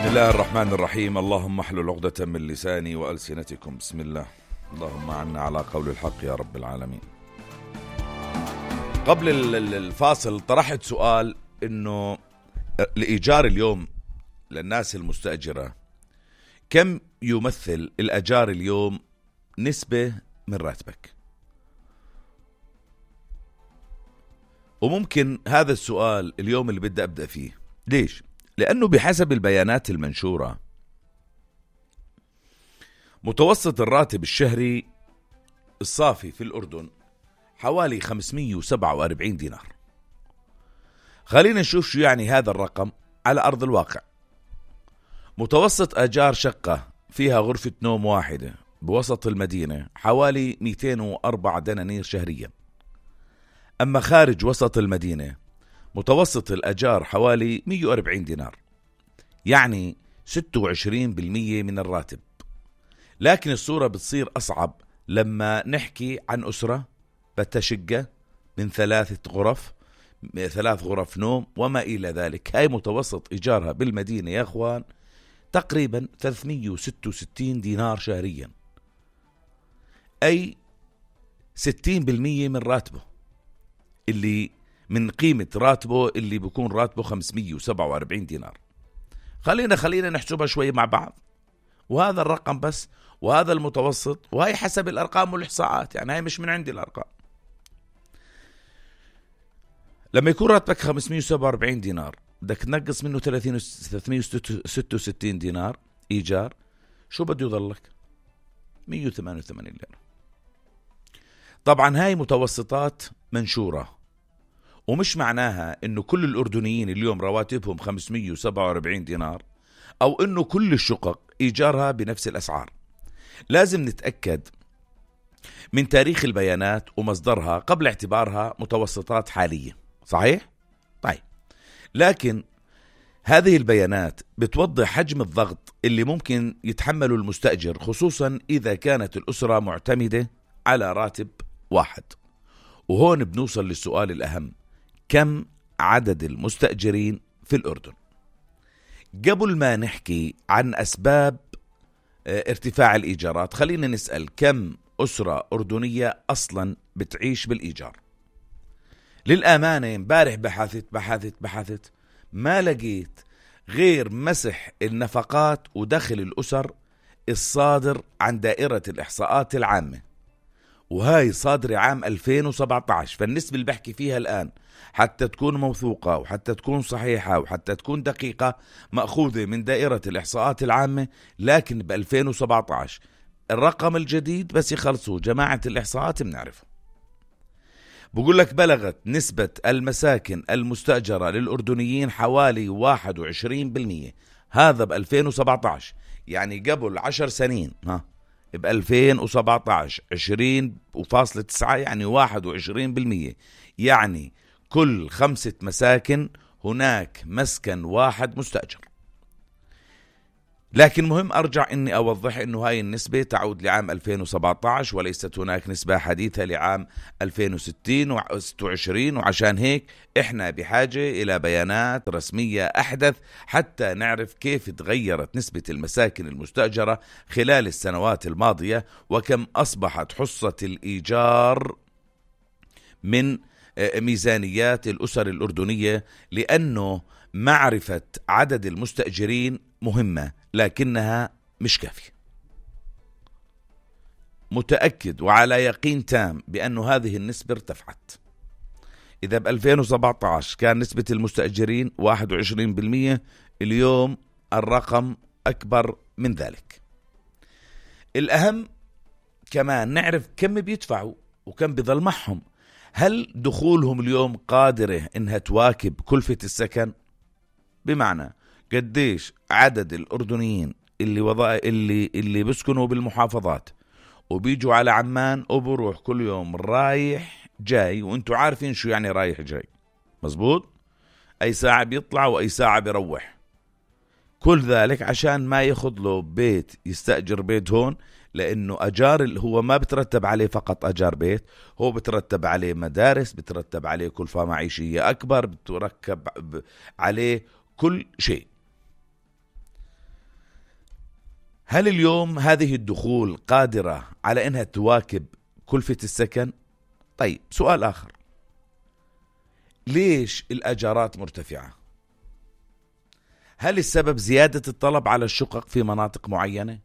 بسم الله الرحمن الرحيم. اللهم احلل عقدة من لساني وألسنتكم. بسم الله. اللهم عنا على قول الحق يا رب العالمين. قبل الفاصل طرحت سؤال إنه الإيجار اليوم للناس المستأجرة كم يمثل الأجار اليوم نسبة من راتبك؟ وممكن هذا السؤال اليوم اللي بدي أبدأ فيه. ليش؟ لأنه بحسب البيانات المنشورة متوسط الراتب الشهري الصافي في الأردن حوالي 547 دينار. خلينا نشوف شو يعني هذا الرقم على أرض الواقع. متوسط أجار شقة فيها غرفة نوم واحدة بوسط المدينة حوالي 204 دنانير شهريا. أما خارج وسط المدينة متوسط الأجار حوالي 140 دينار، يعني 26% من الراتب. لكن الصورة بتصير أصعب لما نحكي عن أسرة بتشقة من 3 غرف نوم وما إلى ذلك. هاي متوسط إيجارها بالمدينة يا أخوان تقريبا 366 دينار شهريا، أي 60% من راتبه، اللي من قيمة راتبه اللي بيكون راتبه 547 دينار. خلينا نحسبها شوي مع بعض. وهذا الرقم بس، وهذا المتوسط، وهي حسب الأرقام والإحصاءات، يعني هاي مش من عندي الأرقام. لما يكون راتبك 547 دينار بدك تنقص منه 366 دينار إيجار، شو بده يضلك؟ 188 ليرة. طبعا هاي متوسطات منشورة، ومش معناها انه كل الأردنيين اليوم رواتبهم 547 دينار او انه كل الشقق ايجارها بنفس الاسعار. لازم نتأكد من تاريخ البيانات ومصدرها قبل اعتبارها متوسطات حالية. صحيح؟ طيب، لكن هذه البيانات بتوضح حجم الضغط اللي ممكن يتحمله المستأجر، خصوصا إذا كانت الأسرة معتمدة على راتب واحد. وهون بنوصل للسؤال الأهم: كم عدد المستأجرين في الأردن؟ قبل ما نحكي عن أسباب ارتفاع الإيجارات، خلينا نسأل كم أسرة أردنية أصلا بتعيش بالإيجار. للأمانة امبارح بحثت ما لقيت غير مسح النفقات ودخل الأسر الصادر عن دائرة الإحصاءات العامة، وهاي صادرة عام 2017. فالنسبة اللي بحكي فيها الآن حتى تكون موثوقة وحتى تكون صحيحة وحتى تكون دقيقة مأخوذة من دائرة الإحصاءات العامة، لكن ب 2017. الرقم الجديد بس يخلصوا جماعة الإحصاءات بنعرفه. بقول لك بلغت نسبة المساكن المستأجرة للأردنيين حوالي 21%. هذا ب 2017، يعني قبل 10 سنين. ب 2017 20.9، يعني 21%. يعني كل 5 مساكن هناك مسكن واحد مستأجر. لكن مهم أرجع إني أوضح إنه هاي النسبة تعود لعام 2017 وليست هناك نسبة حديثة لعام 2060 و26. وعشان هيك إحنا بحاجة إلى بيانات رسمية أحدث حتى نعرف كيف تغيرت نسبة المساكن المستأجرة خلال السنوات الماضية، وكم أصبحت حصة الإيجار من ميزانيات الأسر الأردنية. لأنه معرفة عدد المستأجرين مهمة لكنها مش كافية. متأكد وعلى يقين تام بأنه هذه النسبة ارتفعت. إذا ب 2017 كان نسبة المستأجرين 21%، اليوم الرقم أكبر من ذلك. الأهم كمان نعرف كم بيدفعوا وكم بيظل معهم. هل دخولهم اليوم قادرة إنها تواكب كلفة السكن؟ بمعنى قديش عدد الأردنيين اللي بيسكنوا بالمحافظات وبيجوا على عمان وبروح كل يوم رايح جاي، وانتوا عارفين شو يعني رايح جاي، مزبوط؟ أي ساعة بيطلع وأي ساعة بيروح. كل ذلك عشان ما ياخذ له بيت، يستأجر بيت هون، لأنه أجار هو ما بترتب عليه فقط أجار بيت، هو بترتب عليه مدارس، بترتب عليه كلفة معيشية أكبر، بتركب عليه كل شيء. هل اليوم هذه الدخول قادرة على أنها تواكب كلفة السكن؟ طيب، سؤال آخر، ليش الأجارات مرتفعة؟ هل السبب زيادة الطلب على الشقق في مناطق معينة؟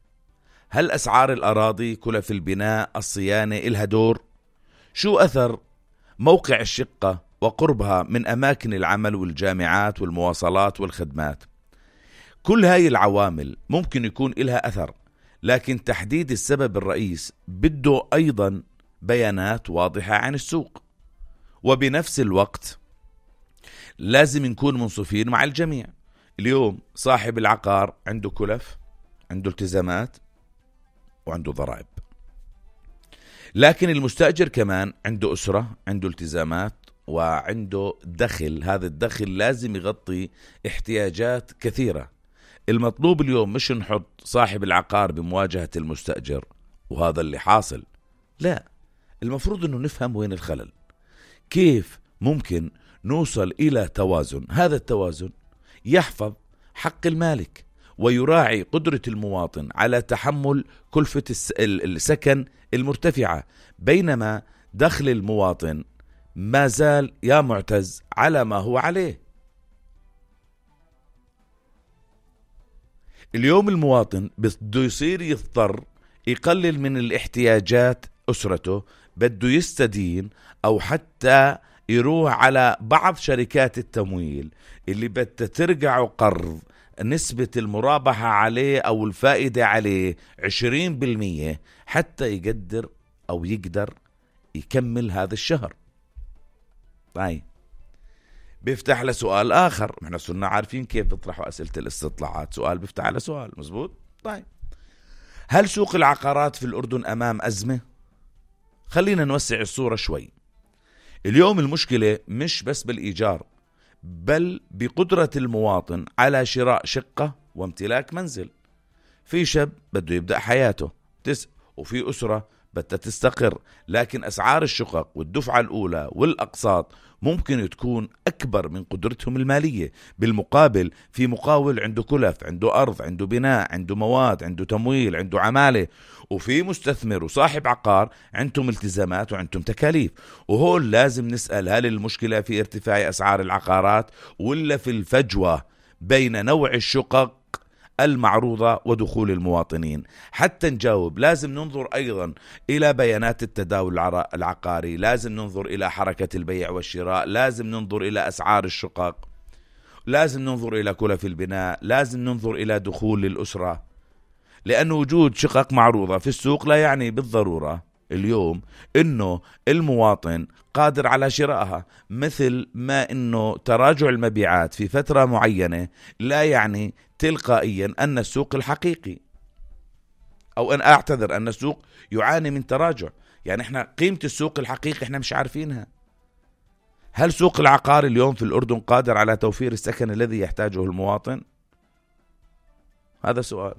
هل أسعار الأراضي، كلف البناء، الصيانة إلها دور؟ شو أثر موقع الشقة وقربها من أماكن العمل والجامعات والمواصلات والخدمات؟ كل هاي العوامل ممكن يكون إلها أثر، لكن تحديد السبب الرئيس بده أيضا بيانات واضحة عن السوق. وبنفس الوقت لازم نكون منصفين مع الجميع. اليوم صاحب العقار عنده كلف، عنده التزامات، وعنده ضرائب، لكن المستأجر كمان عنده أسرة، عنده التزامات، وعنده دخل. هذا الدخل لازم يغطي احتياجات كثيرة. المطلوب اليوم مش نحط صاحب العقار بمواجهة المستأجر، وهذا اللي حاصل. لا، المفروض أنه نفهم وين الخلل، كيف ممكن نوصل إلى توازن. هذا التوازن يحفظ حق المالك ويراعي قدرة المواطن على تحمل كلفة السكن المرتفعة، بينما دخل المواطن ما زال يا معتز على ما هو عليه. اليوم المواطن بده يصير يضطر يقلل من الاحتياجات أسرته، بده يستدين أو حتى يروح على بعض شركات التمويل اللي بدها ترجع قرض نسبة المرابحة عليه أو الفائدة عليه 20% حتى يقدر أو يقدر يكمل هذا الشهر. طيب، بيفتح لسؤال آخر. احنا صرنا عارفين كيف بيطرحوا أسئلة الاستطلاعات، سؤال بيفتح على سؤال، مزبوط؟ طيب، هل سوق العقارات في الأردن أمام أزمة؟ خلينا نوسع الصورة شوي. اليوم المشكلة مش بس بالإيجار، بل بقدرة المواطن على شراء شقة وامتلاك منزل. في شاب بده يبدأ حياته وفي أسرة بدها تستقر، لكن أسعار الشقق والدفعة الأولى والأقساط ممكن تكون أكبر من قدرتهم المالية. بالمقابل في مقاول عنده كلف، عنده أرض، عنده بناء، عنده مواد، عنده تمويل، عنده عمالة، وفي مستثمر وصاحب عقار عندهم التزامات وعندهم تكاليف. وهول لازم نسأل، هل المشكلة في ارتفاع أسعار العقارات ولا في الفجوة بين نوع الشقق المعروضة ودخول المواطنين؟ حتى نجاوب لازم ننظر أيضا إلى بيانات التداول العقاري، لازم ننظر إلى حركة البيع والشراء، لازم ننظر إلى أسعار الشقق، لازم ننظر إلى كلف البناء، لازم ننظر إلى دخول الأسرة. لأن وجود شقق معروضة في السوق لا يعني بالضرورة اليوم إنه المواطن قادر على شرائها، مثل ما إنه تراجع المبيعات في فترة معينة لا يعني تلقائيا أن السوق الحقيقي، أو أن أعتذر أن السوق يعاني من تراجع. يعني إحنا قيمة السوق الحقيقي إحنا مش عارفينها. هل سوق العقار اليوم في الأردن قادر على توفير السكن الذي يحتاجه المواطن؟ هذا سؤال.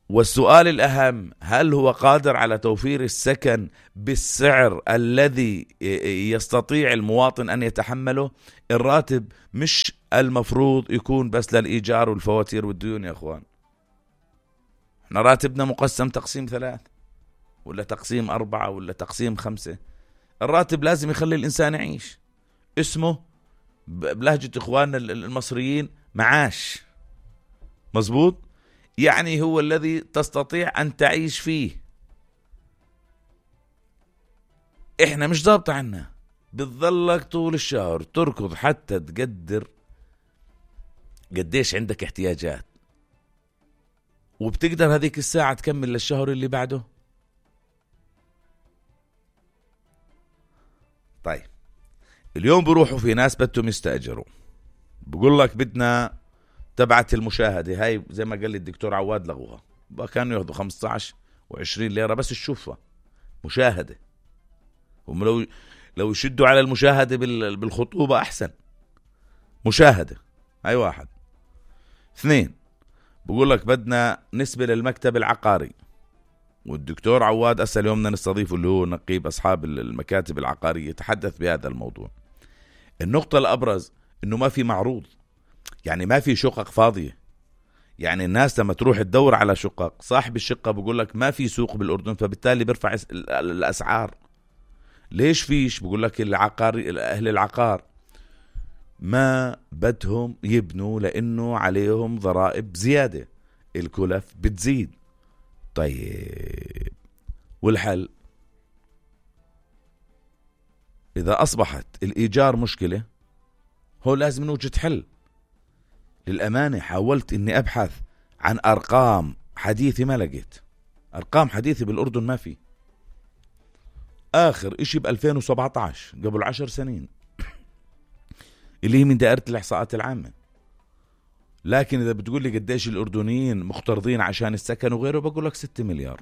والسؤال الأهم، هل هو قادر على توفير السكن بالسعر الذي يستطيع المواطن أن يتحمله؟ الراتب مش المفروض يكون بس للإيجار والفواتير والديون يا أخوان. احنا راتبنا مقسم تقسيم 3 ولا تقسيم 4 ولا تقسيم 5. الراتب لازم يخلي الإنسان يعيش. اسمه بلهجة إخواننا المصريين معاش، مزبوط؟ يعني هو الذي تستطيع أن تعيش فيه. إحنا مش ضابط عنا، بتظلك طول الشهر تركض حتى تقدر قديش عندك احتياجات، وبتقدر هذيك الساعة تكمل للشهر اللي بعده. طيب، اليوم بروحوا في ناس بدهم يستأجروا، بقول لك بدنا تبعت المشاهدة هاي، زي ما قال لي الدكتور عواد لغوها، كانوا ياخذوا 15 و20 ليرة بس تشوفها مشاهدة. هم لو يشدوا على المشاهدة بالخطوبة أحسن. مشاهدة هاي 1. 2، بقول لك بدنا نسبة للمكتب العقاري، والدكتور عواد أسأل يومنا نستضيفه اللي هو نقيب أصحاب المكاتب العقارية يتحدث بهذا الموضوع. النقطة الأبرز إنه ما في معروض، يعني ما في شقق فاضية. يعني الناس لما تروح تدور على شقق، صاحب الشقة بقول لك ما في سوق بالأردن، فبالتالي بيرفع الأسعار. ليش فيش؟ بقول لك أهل العقار ما بدهم يبنوا لأنه عليهم ضرائب زيادة، الكلف بتزيد. طيب والحل؟ إذا أصبحت الإيجار مشكلة، هو لازم نوجد حل. للأمانة حاولت إني أبحث عن أرقام حديثة، ما لقيت أرقام حديثة بالأردن، ما في. آخر إشي ب2017 قبل 10 سنين اللي هي من دائرة الإحصاءات العامة. لكن إذا بتقول لي قديش الأردنيين مقترضين عشان السكن وغيره، بقول لك 6 مليار.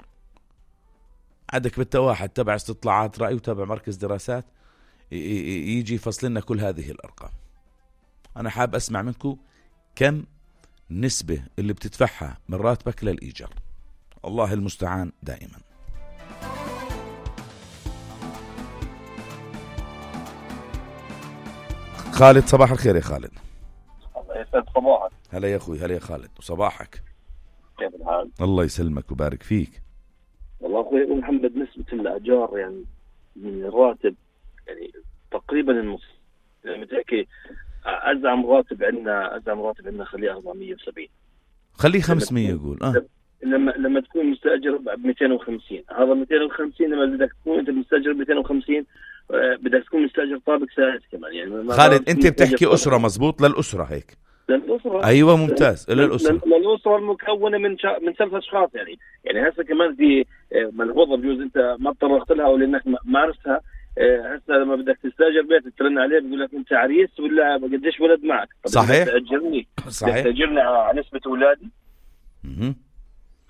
عندك بالتواحد تبع استطلاعات رأي وتبع مركز دراسات يجي يفصل لنا كل هذه الأرقام. أنا حاب أسمع منكم كم نسبة اللي بتدفعها من راتبك للإيجار. الله المستعان دائما. خالد، صباح الخير يا خالد. الله يسعد صباحك. هلا يا أخوي، هلا يا خالد، وصباحك. كيف الحال؟ الله يسلمك وبارك فيك. والله أخوي أبو محمد، نسبة الأجار يعني من الراتب يعني تقريبا النص. يعني متأكد أزعم راتب عندنا خليه 470، خليه 500 يقول. لما تكون مستأجر ب 250، هذا 250 لما بدك تكون أنت مستأجر ب 250 بدك تكون مستأجر طابق ثالث كمان. يعني خالد أنت بتحكي أسرة، مزبوط؟ للأسرة هيك؟ للأسرة. أيوة ممتاز، للأسرة المكونة من 3 أشخاص. يعني هسه كمان في ملحوظة بجوز أنت ما تطرقت لها أو لأنك ما عرفتها. هسه لما بدك تستأجر بيت ترن عليه بيقول لك أنت عريس ولا قديش ولد معك؟ صحيح. تأجرني. صحيح. تأجرني على نسبة أولادي.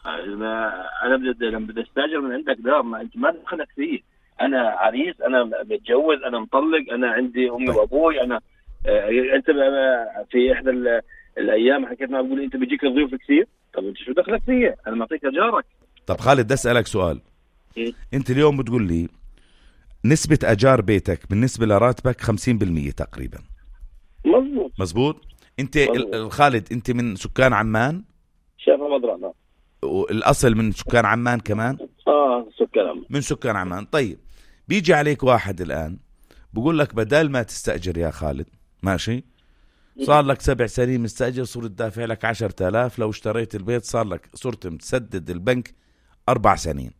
أنا لما بدي أستأجر من عندك دار، ما أنت ما دخلك فيه. أنا عريس، أنا متجوز، أنا مطلق، أنا عندي أمي وأبوي. أنا أنت في إحدى الأيام حكيت معه بقول أنت بيجيك ضيوف كثير. طب أنت شو دخلك فيه؟ أنا معطيك أجارك. طب خالد، بدي أسألك سؤال. أنت اليوم بتقول لي نسبة أجار بيتك بالنسبة لراتبك 50% تقريبا. مزبوط. أنت خالد أنت من سكان عمان؟ شايف مضرعنا. والأصل من سكان عمان كمان؟ سكان عمان. من سكان عمان. طيب بيجي عليك واحد الآن بقول لك بدل ما تستأجر يا خالد، ماشي، صار لك 7 سنين مستأجر، صرت دافع لك 10,000. لو اشتريت البيت صار لك صرت تسدد البنك 4 سنين.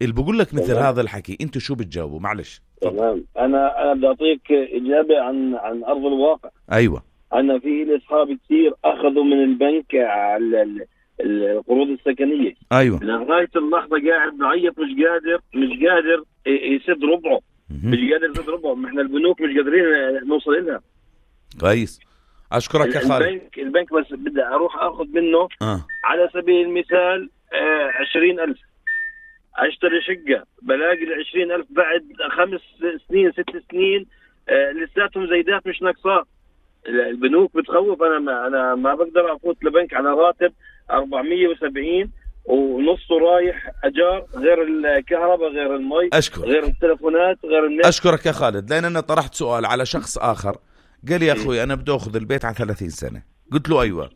اللي بقول لك مثل هذا الحكي انتوا شو بتجاوبوا؟ معلش. تمام. انا بدي اعطيك اجابه عن ارض الواقع. ايوه. انا في اصحاب كثير اخذوا من البنك على القروض السكنيه. ايوه. لغايه اللحظه قاعد بعيط، مش قادر يسد ربعه. مش قادر يسد ربعه. ما احنا البنوك مش قادرين نوصل لها. كويس، اشكرك يا خالد. البنك بس بدي اروح اخذ منه على سبيل المثال 20,000، اشتري شقة بلاقي 20,000 بعد 5 سنين 6 سنين لساتهم زيدات مش نقصات. البنوك بتخوف. انا ما بقدر افوت لبنك على راتب 470 ونصه رايح اجار، غير الكهرباء، غير المي، غير التلفونات، غير النت. اشكرك يا خالد، لان انا طرحت سؤال على شخص اخر قال لي يا اخوي انا بدي اخذ البيت على 30 سنة. قلت له ايوه.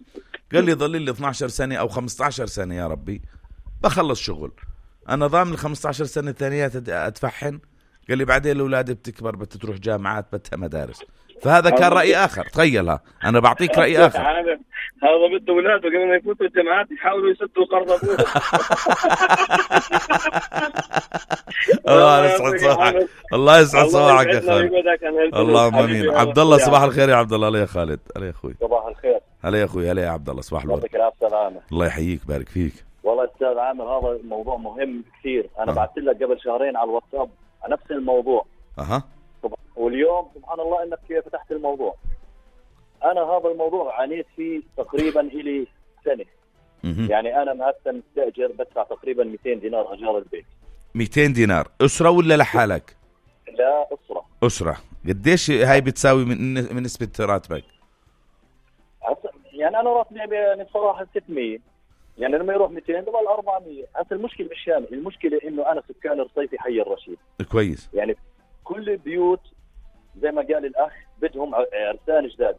قال لي ضل لي 12 سنة او 15 سنة يا ربي بخلص شغل، انا ضامن 15 سنة الثانيات ادفعهن. قال لي بعدين الاولاد بتكبر بتروح جامعات بدها مدارس. فهذا كان رأي اخر. تخيلها، انا بعطيك رأي اخر. هذا بده اولاده قبل ما يفوتوا الجامعات يحاولوا يسدوا قرض ابوهم. الله يسعد صباحك. الله يسعد صباحك يا خالد. اللهم امين. عبد الله، صباح الخير يا عبد الله. هلا يا خالد. هلا يا اخوي. صباح الخير. هلا يا اخوي. هلا يا عبد الله، صباح الورد. الله يحييك بارك فيك. والله استاذ عامر، هذا الموضوع مهم كثير. انا بعثت لك قبل شهرين على الواتساب على نفس الموضوع. واليوم سبحان الله انك فتحت الموضوع. انا هذا الموضوع عانيت فيه تقريبا الي سنة. يعني انا مثلا مستأجر بدفع تقريبا 200 دينار اجار البيت. 200 دينار أسرة ولا لحالك؟ لا، أسرة. قديش هاي بتساوي من نسبة راتبك؟ يعني انا راتبي يعني بصراحة 600، يعني لما يروح 200 ضل 400. هسه المشكلة مش هان، المشكلة انه انا سكان رصيفي حي الرشيد. كويس. يعني كل البيوت زي ما قال الاخ بدهم عرسان جداد.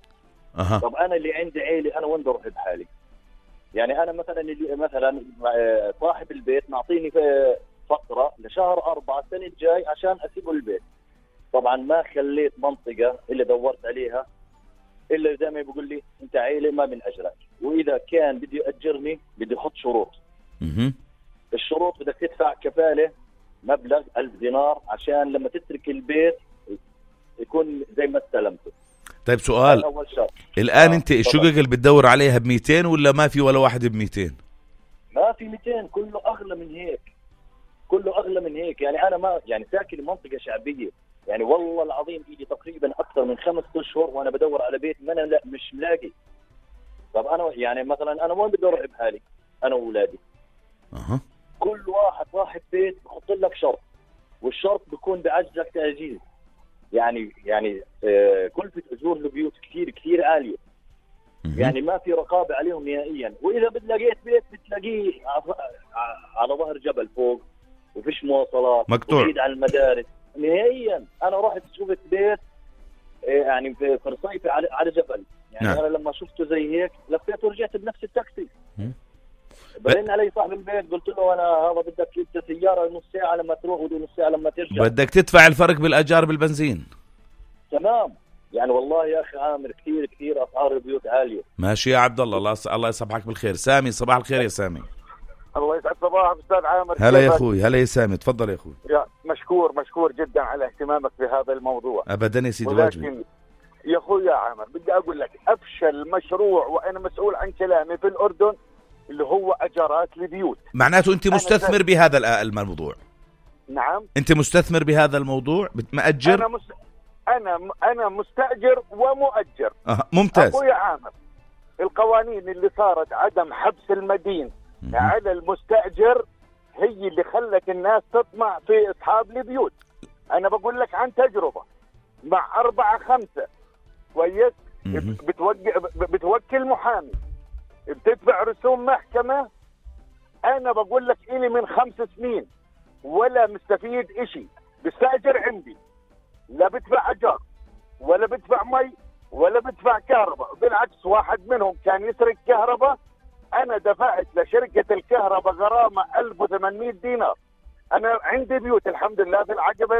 طب انا اللي عندي عيلة، انا وين بروح بحالي؟ يعني انا مثلا صاحب البيت معطيني فتره لشهر 4 السنه الجاي عشان اسيبه البيت. طبعا ما خليت منطقه اللي دورت عليها الا زي ما بيقول لي انت عيله ما من اجرك، واذا كان بده ياجرني بده يحط شروط. الشروط بدك تدفع كفاله مبلغ 1000 دينار عشان لما تترك البيت يكون زي ما استلمته. طيب سؤال، الآن أنت الشقق اللي بتدور عليها ب200 ولا ما في ولا واحد ب200؟ ما في 200، كله أغلى من هيك، كله أغلى من هيك. يعني أنا ما يعني ساكن منطقة شعبية، يعني والله العظيم إيدي تقريبا أكثر من 5 أشهر وأنا بدور على بيت ما أنا لا مش ملاقي. طب أنا يعني مثلا أنا وين بدي أروح بحالي أنا وأولادي؟ كل واحد صاحب بيت بحط لك شرط، والشرط بيكون بعجزك تعجيز. يعني كلفة أجور البيوت كثير عالية، يعني ما في رقابة عليهم نهائيا. وإذا بتلاقيت بيت بتلاقيه على ظهر جبل فوق وفيش مواصلات، مقطوع بعيد عن المدارس نهائيا. أنا رحت شفت بيت يعني في رصيفة على جبل، يعني نعم. أنا لما شفته زي هيك لفيت ورجعت بنفس التاكسي. برن علي صاحب البيت قلت له أنا هذا بدك انت سيارة نص ساعة لما تروح ونص ساعة لما ترجع، بدك تدفع الفرق بالأجار بالبنزين. تمام. يعني والله يا أخي عامر كثير أسعار البيوت عالية. ماشي يا عبد الله، الله يصبحك بالخير. سامي، صباح الخير يا سامي. الله يسعد صباحك أستاذ عامر. هلا يا أخوي، هلا يا سامي، تفضل يا أخوي. يا مشكور جدا على اهتمامك بهذا الموضوع. أبدا يا سيدي، واجبي. يا أخوي يا عامر بدي أقول لك أفشل مشروع وأنا مسؤول عن كلامي في الأردن اللي هو أجارات البيوت. معناته أنت مستثمر بهذا الموضوع؟ نعم. أنت مستثمر بهذا الموضوع، مأجر؟ أنا مستأجر ومؤجر. ممتاز. أخوي عامر، القوانين اللي صارت عدم حبس المدين على المستأجر هي اللي خلت الناس تطمع في أصحاب البيوت. أنا بقول لك عن تجربة مع 4-5 كويس، بتوكل محامي، بتدفع رسوم محكمة. أنا بقول لك إلي من 5 سنين ولا مستفيد إشي. بستأجر عندي، لا بدفع أجار ولا بدفع مي ولا بدفع كهرباء. بالعكس واحد منهم كان يسرق كهرباء، أنا دفعت لشركة الكهرباء غرامة 1800 دينار. أنا عندي بيوت الحمد لله في العقبة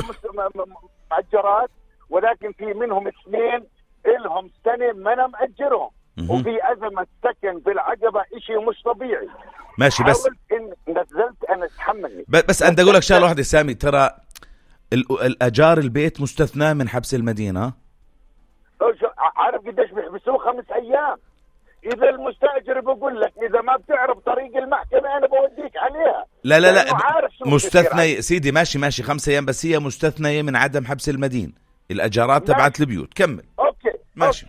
مأجرات، ولكن في منهم 2 إلهم سنة ما أنا مأجرهم، وفي أزمة سكن في العقبة إشي مش طبيعي. ماشي، بس إن نزلت أنا أتحملني. بس أنا أقول لك شغلة واحدة سامي، ترى الأجار البيت مستثنى من حبس المدينة. عارف قديش بيحبسوه؟ 5 أيام. إذا المستأجر بقول لك إذا ما بتعرف طريق المحكمة أنا بوديك عليها. لا مستثنى سيدي. ماشي 5 أيام، بس هي مستثنية من عدم حبس المدين. الأجارات تبعت البيوت. كمل. أوكي ماشي.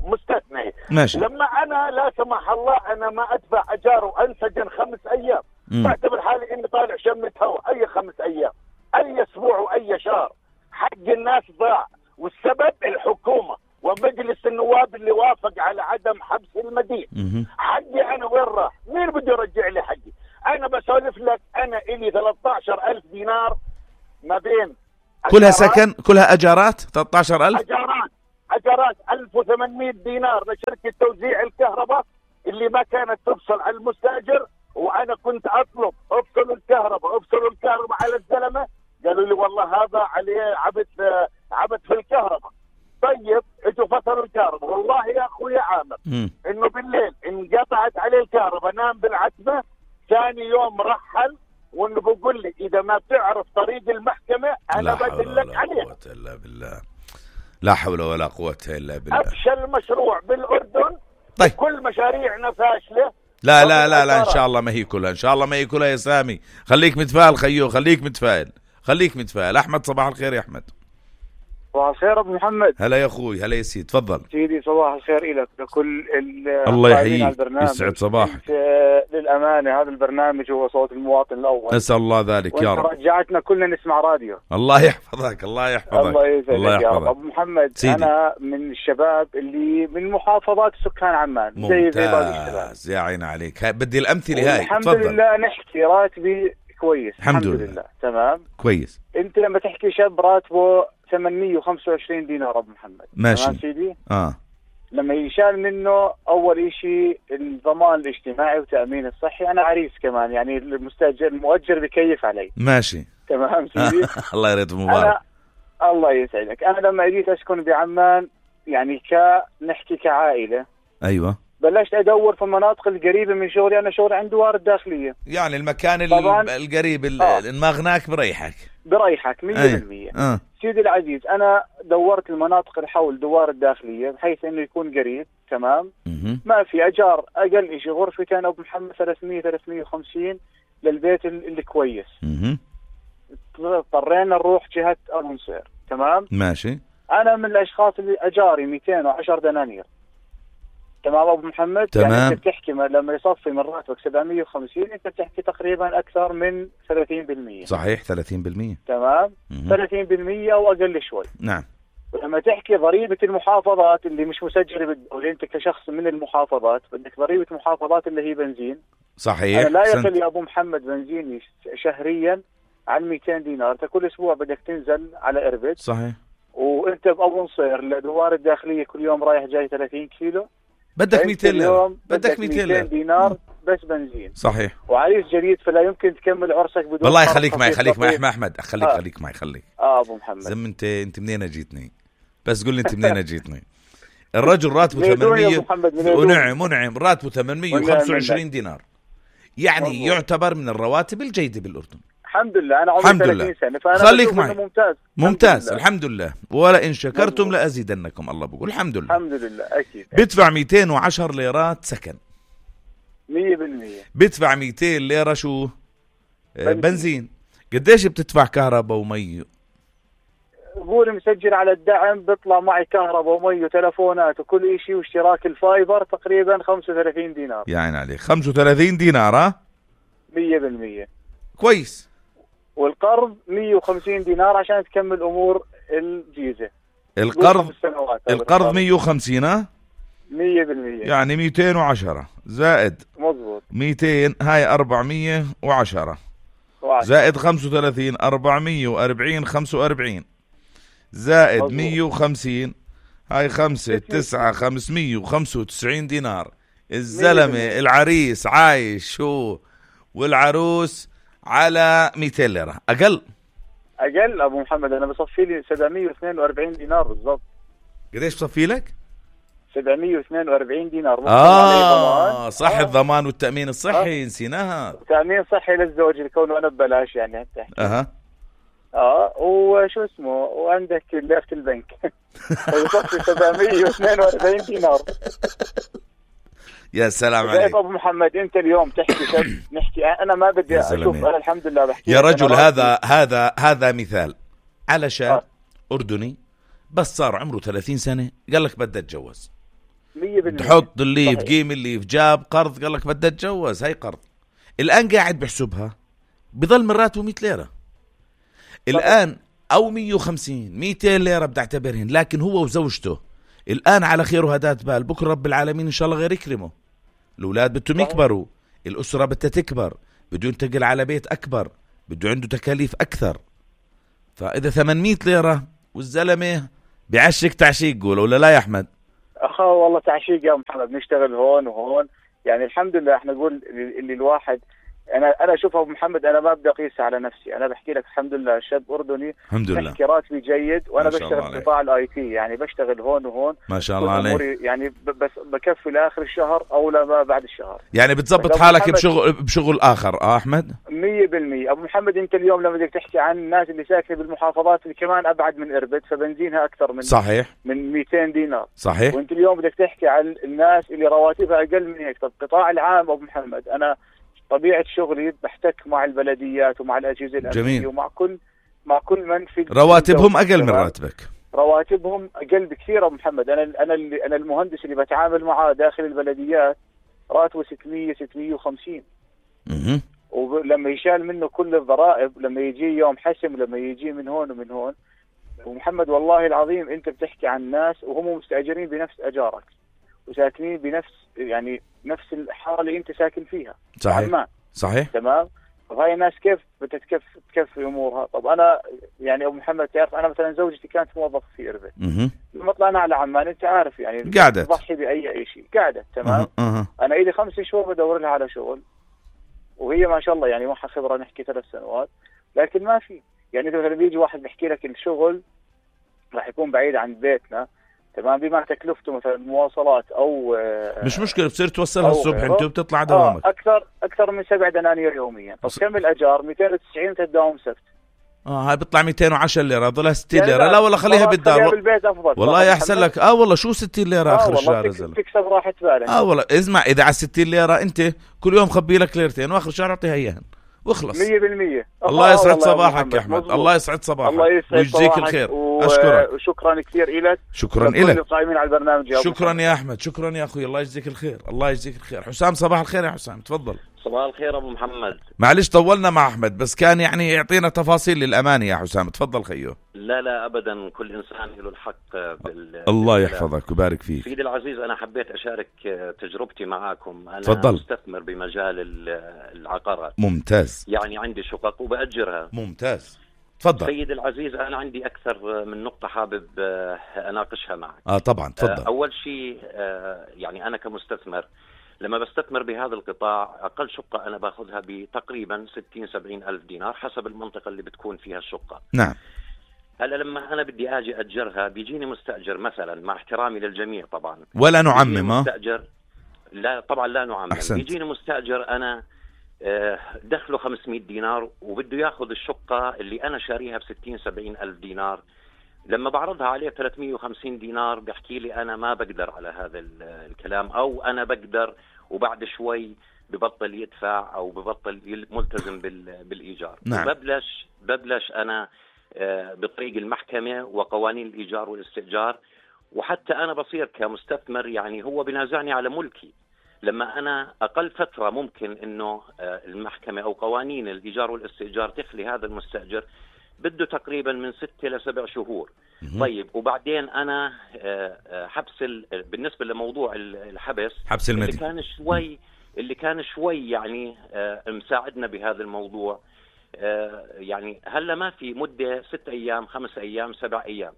مستثنية. ماشي. لما أنا لا سمح الله أنا ما أدفع أجار وأنسجن 5 أيام، بعتبر حالي إني طالع شمة هواء. أي 5 أيام، أي أسبوع وأي شهر، حق الناس ضاع. والسبب الحكومة ومجلس النواب اللي وافق على عدم حبس المدين. حقي أنا وين راح؟ مين بده يرجع لي حقي؟ أنا بسولف لك، أنا إلي 13,000 دينار ما بين كلها سكن، كلها أجارات. 13,000 أجارات 1800 دينار لشركة توزيع الكهرباء اللي ما كانت تفصل على المستأجر، وأنا كنت أطلب افصلوا الكهرباء على الزلمة، قالوا لي والله هذا عليه عبث في الكهرباء. طيب اجوا فصلوا الكهرباء، والله يا اخوي عامر انه بالليل انقطعت عليه الكهرباء، نام بالعتمة. ثاني يوم رحل، وانه بقول لي اذا ما بتعرف طريق المحكمة انا بدلك عليها. لا حول ولا قوة إلا بالله. أفشل مشروع بالأردن. طيب كل مشاريعنا فاشلة. لا إن شاء الله ما هي كلها، يا سامي. خليك متفائل خيو، خليك متفائل. أحمد، صباح الخير يا أحمد. صباح الخير أبو محمد. هلا يا أخوي، هلا يا سيد، تفضل سيدي. صباح الخير إلك لكل الله يحييك، يسعد صباحك. للأمانة هذا البرنامج هو صوت المواطن الأول، نسأل الله ذلك يا رب. رجعتنا كلنا نسمع راديو. الله يحفظك. الله يسعدك يا رب. أبو محمد سيدي. أنا من الشباب اللي من محافظات سكان عمان. ممتاز، يا عين عليك. بدي الأمثلة هاي. الحمد لله نحكي راتبي كويس. الحمد لله تمام كويس. أنت لما تحكي شاب راتبه 825 دينار أبو محمد، ماشي تمام سيدي. لما يشال منه اول اشي الضمان الاجتماعي وتأمين الصحي. انا عريس كمان، يعني المؤجر بكيف علي. ماشي تمام سيدي. الله يريد مبارك. الله يسعدك. انا لما جيت اسكن بعمان يعني نحكي كعائلة، ايوه، بلشت ادور في المناطق القريبة من شغلي. انا شغلي عند دوار الداخلية، يعني المكان القريب المغناك بريحك 100%. سيدي العزيز، انا دورت المناطق اللي حول دوار الداخلية بحيث انه يكون قريب. تمام. ما في اجار، اقل شيء غرفتين ابو محمد 300-350 للبيت اللي كويس. اضطرينا نروح جهة ابو نصير. تمام ماشي. انا من الاشخاص اللي اجاري 210 دنانير. تمام ابو محمد. تمام. يعني انت بتحكي لما يصفي من راتبك 750 انت بتحكي تقريبا اكثر من 30%. صحيح 30%. تمام. 30% او اقل شوي. نعم. ولما تحكي ضريبة المحافظات اللي مش مسجلة بالدولة، انت كشخص من المحافظات بدك ضريبة محافظات اللي هي بنزين. صحيح. انا لا يقل يا ابو محمد بنزيني شهريا عن 200 دينار. انت كل اسبوع بدك تنزل على اربد. صحيح. وانت بابو نصير لدوار الداخلية كل يوم رايح جاي 30 كيلو، بدك 200 ليرة، بدك 200 دينار بس بنزين. صحيح. وعريس جديد، فلا يمكن تكمل عرسك بدون. والله خليك معي احمد، خليك معي. ابو محمد، زم انت منين جيتني؟ بس قول لي انت منين جيتني؟ الرجل راتبه 800 ونعم راتبه 825 دينار، يعني مزبوط. يعتبر من الرواتب الجيدة بالأردن. الحمد لله. أنا عمري 30 سنة، فأنا خليك معي. ممتاز. الحمد لله. ولا إن شكرتم لأزيدنكم. الله بقول الحمد لله. أكيد. بدفع 210 ليرات سكن 100%. بدفع 200 ليرة شو؟ بنزين. قديش بتدفع كهرباء ومي؟ قولي مسجل على الدعم بيطلع معي كهرباء ومي وتلفونات وكل شيء واشتراك الفايبر تقريبا 35 دينار. يعني عليك 35 دينار. ها 100%. كويس. والقرض 150 دينار عشان تكمل امور الجيزة. القرض 150. ها 100%. يعني 210 زائد مظبوط 200 هاي 410 زائد 35 440 45 زائد مظبوط. 150 هاي 5 9 595 دينار. الزلمة العريس عايش شو والعروس على 200 ليرة أقل أبو محمد. أنا بصفي لي 742 دينار بالضبط. قديش بصفي لك؟ 742 دينار. صح. الضمان والتأمين الصحي نسيناها. تأمين صحي للزوج الكون أنا ببلاش يعني حتى. وشو اسمه، وعندك لافة البنك ويصفي 742 دينار. يا سلام عليك ابو محمد. انت اليوم تحكي نحكي، انا ما بدي اشوف. انا الحمد لله بحكي يا رجل. هذا مثال على شاب أردني بس صار عمره 30 سنة قال لك بدي اتجوز. 100%. تحط اللي في قيم اللي في جاب قرض قال لك بدي اتجوز. هاي قرض. الآن قاعد بحسبها بضل من راتبه 100 ليرة الآن أو 150 200 ليرة بدي اعتبرهن. لكن هو وزوجته الآن على خير وهدات بال. بكرة رب العالمين إن شاء الله غير يكرمه. الأولاد بدهم يكبروا، الأسرة بدها تكبر، بده ينتقل على بيت أكبر، بده عنده تكاليف أكثر. فإذا 800 ليرة والزلمة بعشق تعشيق قول ولا لا يا أحمد؟ والله تعشيق يا محمد. نشتغل هون وهون يعني الحمد لله. احنا نقول اللي الواحد انا اشوف ابو محمد، انا ما بدي اقيس على نفسي. انا بحكي لك الحمد لله شاب اردني الحمد لله، بحكي راتبي جيد وانا بشتغل في قطاع الاي تي، يعني بشتغل هون وهون ما شاء الله عليك. يعني بس بكفي لاخر الشهر او لا بعد الشهر. يعني بتزبط حالك بشغل اخر. احمد 100%. ابو محمد انت اليوم لما بدك تحكي عن الناس اللي ساكنه بالمحافظات اللي كمان ابعد من اربد فبنزينها اكثر من صحيح من 200 دينار. صحيح. وانت اليوم بدك تحكي عن الناس اللي رواتبها اقل من هيك. طب القطاع العام ابو محمد، انا طبيعة شغلي بحتك مع البلديات ومع الأجهزة الأمنية ومع كل من في رواتبهم أقل من راتبك. رواتبهم أقل بكثير أبو محمد. أنا المهندس اللي بتعامل معه داخل البلديات راتبه 600-650. ولما يشال منه كل الضرائب، لما يجي يوم حسم، لما يجي من هون ومن هون. ومحمد والله العظيم أنت بتحكي عن ناس وهم مستأجرين بنفس أجارك وساكنين بنفس يعني نفس الحارة اللي انت ساكن فيها. صحيح. تمام. طب هاي الناس كيف بتكفي امورها؟ طب انا يعني ابو محمد تعرف انا مثلا زوجتي كانت موظفه في اربد، لما طلعنا على عمان انت عارف يعني قعدت تضحي باي شيء، قعدت تمام. انا الي 5 شهور بدور لها على شغل، وهي ما شاء الله يعني معها خبره نحكي 3 سنوات، لكن ما في يعني مثلا بيجي واحد بيحكي لك الشغل راح يكون بعيد عن بيتنا تمام، بما تكلفته مثلا مواصلات او مش مشكله بتصير توصلها الصبح انت وبتطلع دوامك اكثر من 7 دنانير يوميا. طب كم الاجار؟ 290 تداوم سبت. هاي بيطلع 210 ليره، ضلها 60 ليره. لا والله خليها بالدار بالبيت افضل والله يحسن لك. والله شو 60 ليره اخر الشهر زلمه تكسب راحه بالك. والله اسمع، اذا على 60 ليره انت كل يوم خبي لك ليرتين واخر الشهر اعطيها اياها واخلص 100%. الله يسعد صباحك يا احمد. الله يسعد صباحك ويجزيك الخير. اشكرك وشكرا كثير لك. شكرا لك القائمين على البرنامج. شكرا يا احمد، شكرا يا اخوي. الله يجزيك الخير. الله يجزيك الخير. حسام صباح الخير يا حسام، تفضل. صباح الخير ابو محمد. معلش طولنا مع احمد بس كان يعني يعطينا تفاصيل للامانه يا حسام. تفضل خيو. لا ابدا، كل انسان له الحق الله يحفظك ويبارك فيك. سيدي العزيز، انا حبيت اشارك تجربتي معاكم. انا تفضل. مستثمر بمجال العقارات. ممتاز. يعني عندي شقق وبأجرها. ممتاز. تفضل. سيدي العزيز، انا عندي اكثر من نقطه حابب اناقشها معك. طبعا تفضل. اول شيء يعني انا كمستثمر لما بستثمر بهذا القطاع، أقل شقة أنا باخذها بتقريبا 60-70 ألف دينار حسب المنطقة اللي بتكون فيها الشقة. نعم. هلا لما أنا بدي أجي أجرها بيجيني مستأجر مثلا، مع احترامي للجميع طبعا ولا نعمم. مستأجر لا طبعا لا نعمم. أحسنت. بيجيني مستأجر أنا دخله 500 دينار وبده ياخذ الشقة اللي أنا شاريها ب60-70 ألف دينار. لما بعرضها عليه 350 دينار بيحكي لي أنا ما بقدر على هذا الكلام، أو أنا بقدر وبعد شوي ببطل يدفع أو ببطل ملتزم بالإيجار. نعم. ببلش أنا بطريق المحكمة وقوانين الإيجار والاستئجار، وحتى أنا بصير كمستثمر يعني هو بنازعني على ملكي. لما أنا أقل فترة ممكن إنه المحكمة أو قوانين الإيجار والاستئجار تخلي هذا المستأجر بده تقريبا من 6 ل7 شهور. طيب وبعدين أنا حبس بالنسبة لموضوع الحبس، حبس المدني اللي كان شوي يعني مساعدنا بهذا الموضوع. يعني هلا ما في مدة 6 أيام 5 أيام 7 أيام.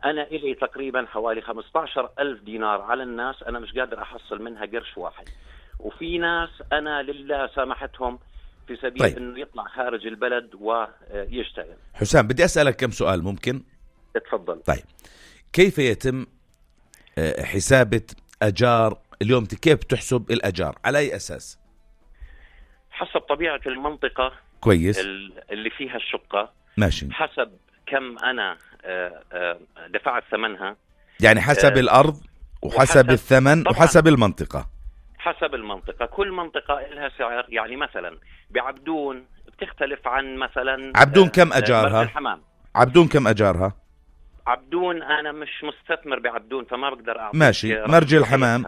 أنا إلي تقريبا حوالي 15,000 دينار على الناس، أنا مش قادر أحصل منها قرش واحد. وفي ناس أنا لله سامحتهم في سبيل إنه يطلع خارج البلد ويشتغل. حسام بدي أسألك كم سؤال ممكن؟ اتفضل. طيب كيف يتم حسابة أجار اليوم؟ كيف تحسب الأجار؟ على أي أساس؟ حسب طبيعة المنطقة. كويس. اللي فيها الشقة. ماشي. حسب كم أنا دفعت ثمنها. يعني حسب الأرض وحسب الثمن وحسب المنطقة. حسب المنطقة، كل منطقة لها سعر. يعني مثلا بعبدون بتختلف عن مثلا عبدون كم أجارها؟ مرج الحمام. عبدون كم أجارها؟ عبدون أنا مش مستثمر بعبدون فما بقدر أعطيك. ماشي. مرج الحمام.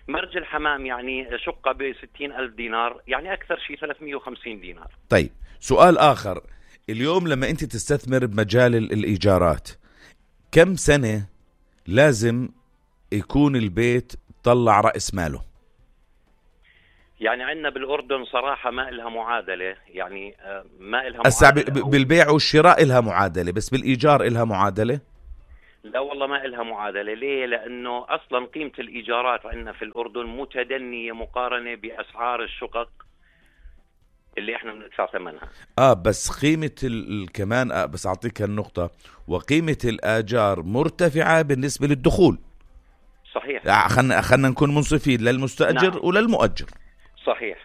مرج الحمام يعني شقة ب60,000 دينار، يعني أكثر شيء 350 دينار. طيب سؤال آخر، اليوم لما أنت تستثمر بمجال الإيجارات كم سنة لازم يكون البيت طلع رأس ماله؟ يعني عندنا بالأردن صراحة ما إلها معادلة، يعني ما إلها معادلة. بالبيع والشراء إلها معادلة، بس بالإيجار إلها معادلة؟ لا والله ما إلها معادلة. ليه؟ لأنه أصلا قيمة الإيجارات عندنا في الأردن متدنية مقارنة بأسعار الشقق اللي إحنا بندفع ثمنها. بس قيمة كمان بس أعطيك النقطة، وقيمة الآجار مرتفعة بالنسبة للدخول. صحيح. خلنا نكون منصفين للمستأجر. نعم. وللمؤجر. صحيح.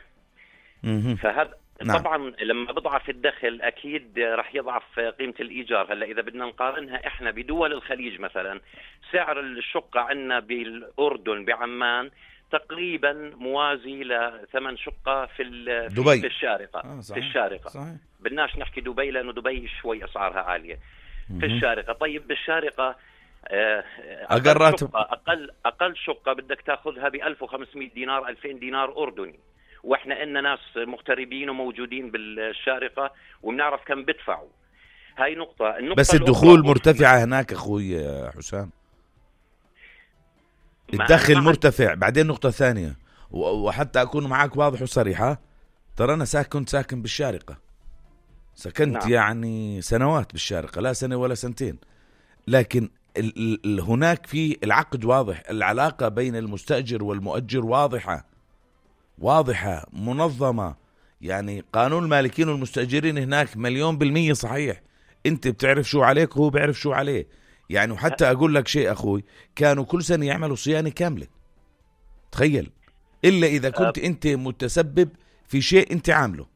فهذا نعم. طبعا لما بضعف الدخل أكيد رح يضعف قيمة الإيجار. هلا إذا بدنا نقارنها إحنا بدول الخليج مثلا، سعر الشقة عندنا بالأردن بعمان تقريبا موازي لثمن شقة في دبي. في الشارقة. في الشارقة. صحيح. بدناش نحكي دبي لأنه دبي شوي أسعارها عالية. في الشارقة. طيب بالشارقة أقل شقة بدك تأخذها ب1500 دينار 2000 دينار أردني، وإحنا إننا ناس مغتربين وموجودين بالشارقة وبنعرف كم بدفعوا. هاي نقطة. بس الدخول مرتفعة هناك أخوي حسام، الدخل مرتفع. بعدين نقطة ثانية، وحتى أكون معك واضح وصريحة، ترى أنا كنت ساكن بالشارقة، سكنت نعم. يعني سنوات بالشارقة، لا سنة ولا سنتين، لكن هناك في العقد واضح، العلاقة بين المستأجر والمؤجر واضحة منظمة. يعني قانون المالكين والمستأجرين هناك 100% صحيح. انت بتعرف شو عليك وهو بيعرف شو عليه. يعني وحتى اقول لك شيء اخوي، كانوا كل سنة يعملوا صيانة كاملة، تخيل، الا اذا كنت انت متسبب في شيء انت عامله.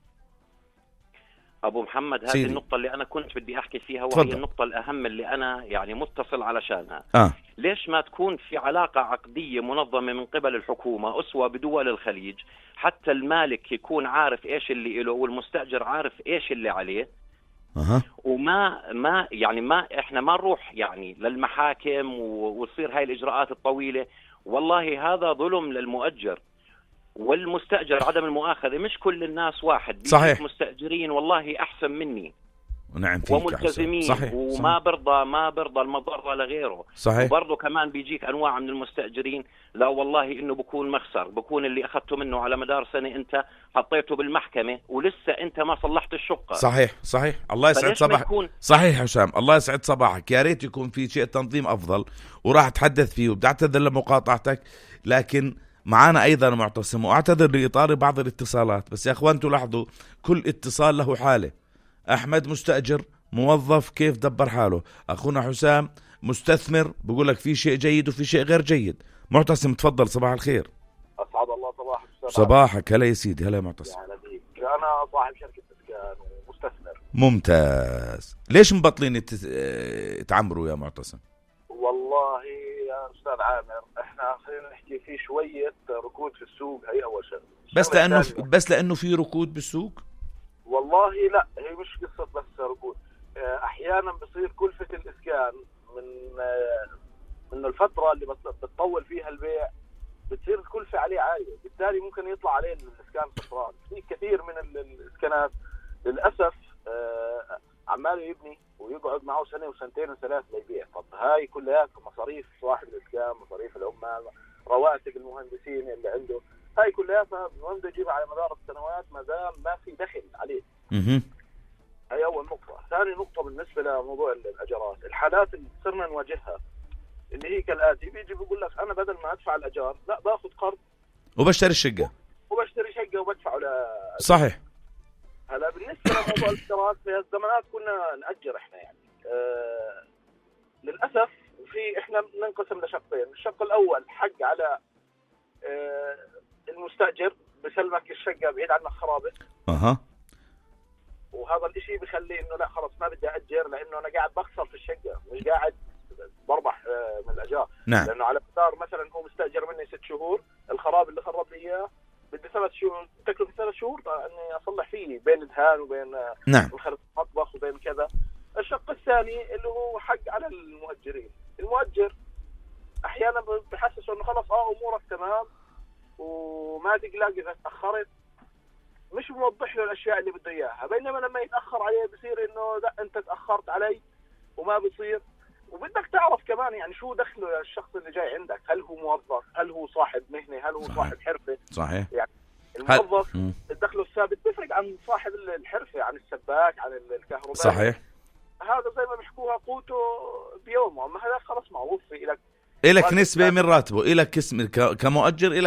ابو محمد، هذه سيدي. النقطة اللي انا كنت بدي احكي فيها، وهي تفضل. النقطة الاهم اللي انا يعني متصل علشانها. ليش ما تكون في علاقة عقدية منظمة من قبل الحكومة أسوة بدول الخليج، حتى المالك يكون عارف ايش اللي له والمستأجر عارف ايش اللي عليه. وما يعني ما احنا ما نروح يعني للمحاكم وتصير هاي الإجراءات الطويلة. والله هذا ظلم للمؤجر والمستأجر، عدم المؤاخذة. مش كل الناس واحد، صحيح. مستأجرين والله أحسن مني نعم وملتزمين، صحيح. وما برضى المضرة لغيره. صحيح. وبرضه كمان بيجيك أنواع من المستأجرين، لا والله إنه بكون مخسر، بكون اللي أخذته منه على مدار سنة أنت حطيته بالمحكمة ولسه أنت ما صلحت الشقة. صحيح. الله يسعد صباحك. صحيح حسام، الله يسعد صباحك. يا ريت يكون في شيء تنظيم أفضل، وراح أتحدث فيه، وبدي أعتذر لمقاطعتك، لكن معانا أيضا معتصم، وأعتذر لإطار بعض الاتصالات. بس يا أخوان تلاحظوا كل اتصال له حالة. أحمد مستأجر، موظف، كيف دبر حاله. أخونا حسام مستثمر، بقول لك في شيء جيد وفي شيء غير جيد. معتصم تفضل، صباح الخير. أسعد الله صباحك. صباحك. هلا يا سيدي. هلا يا معتصم. يعني بيك. أنا صاحب شركة إسكان ومستثمر. ممتاز. ليش مبطلين تعمروا يا معتصم؟ والله يا أستاذ عامر، إحنا خلينا نحكي في شوية ركود في السوق، هي أول شيء. بس لأنه في ركود بالسوق؟ والله لا، هي مش قصة بس ركود. أحيانا بصير كلفة الإسكان من الفترة اللي بتطول فيها البيع، بتصير الكلفة عليه عالية، بالتالي ممكن يطلع عليه الإسكان خسران. في كثير من الإسكانات للأسف عمال يبني ويقعد معه سنة وسنتين وثلاث ليبيع. طب هاي كلها مصاريف صاحب الإسكان، مصاريف العمال، رواتب المهندسين اللي عنده، هاي كلها فبده يجيبها على مدار السنوات ما دام ما في دخل عليه. هاي أول نقطة. ثاني نقطة بالنسبة لموضوع الأجارات، الحالات اللي صرنا نواجهها اللي هي كالآتي: بيجي بيقول لك أنا بدل ما أدفع الأجار لا باخذ قرض وبشتري شقة وبدفعه صحيح. هلا بالنسبة لموضوع الإجارات، في الزمانات كنا نأجر إحنا يعني للأسف إحنا بننقسم لشقين. الشق الأول حق على المستأجر، بسلمك الشقة بعيد عنك خرابة. وهذا الاشي بخلي انه لا خلص ما بدي أجر، لانه انا قاعد بخسر في الشقة، مش قاعد بربح من الأجار. نعم. لانه على مدار مثلا هو مستأجر مني 6 شهور، الخراب اللي خرب لي اياه بدي 3 شهور، تكلفة 3 شهور اني اصلح فيه بين الدهان وبين نعم الخرب المطبخ وبين كذا. الشق الثاني اللي هو حق على المؤجرين. المؤجر احيانا بحسسه انه خلص امورك تمام وما تقلق اذا تاخرت، مش موضح له الاشياء اللي بده اياها، بينما لما يتاخر عليه بصير انه لا انت تاخرت علي وما بصير. وبدك تعرف كمان يعني شو دخله الشخص اللي جاي عندك، هل هو موظف، هل هو صاحب مهنه، هل هو صاحب حرفه. صحيح. يعني الموظف الدخل الثابت بيفرق عن صاحب الحرفه، عن السباك، عن الكهرباء. صحيح. هذا زي ما بيحكوها قوته بيومه، اما هذا خلص معروف. لك نسبة من راتبه، إلك اسم كمؤجر، إلك